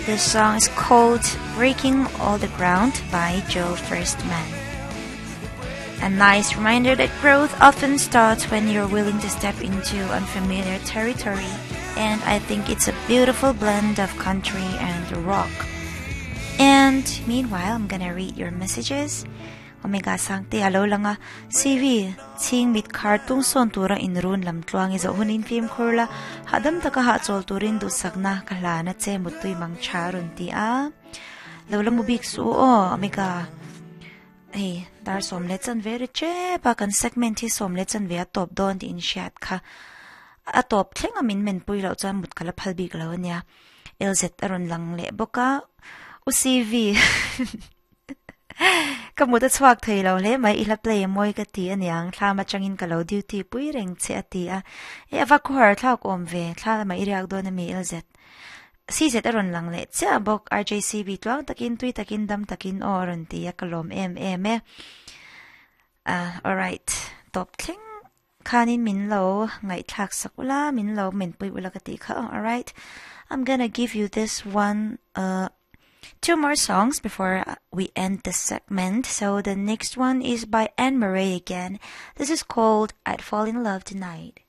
This song is called Breaking All the Ground by Joe Firstman. A nice reminder that growth often starts when you're willing to step into unfamiliar territory, and I think it's a beautiful blend of country and rock. And meanwhile, I'm gonna read your messages. Omega Sangte alo langa CV ching mit khar tung son tura inrun lam tluang i zo hunin fim khurla hadam taka ha chol turin du sakna khala na che mutui mang charun ti a lo la mu bik su o Omega hei dar som le chan ve ri che pa kan segment hi som le chan ve a top don ti in shat kha a top thlenga min men pui lo chuan mut kala phal bik lo ania LZ aron lang le boka UCV ka mut a chhuak thei lo hle mai i hla play mawi ka ti aniang thla ma changin ka lo duty pui reng che a ti a e ava khuar thlak awm ve thla ma i riak dawn ami LZ CZ a rawn lang leh chiah bawk RJCB tluang takin tui takin dam takin aw a rawn ti a ka lawm em em e ah alright tawp thleng khanin min lo ngaihthlak sak ula min lo menpui ula ka tih kha alright I'm gonna give you this one uh two more songs before we end the segment. So the next one is by Anne Murray again. This is called I'd Fall in Love Tonight.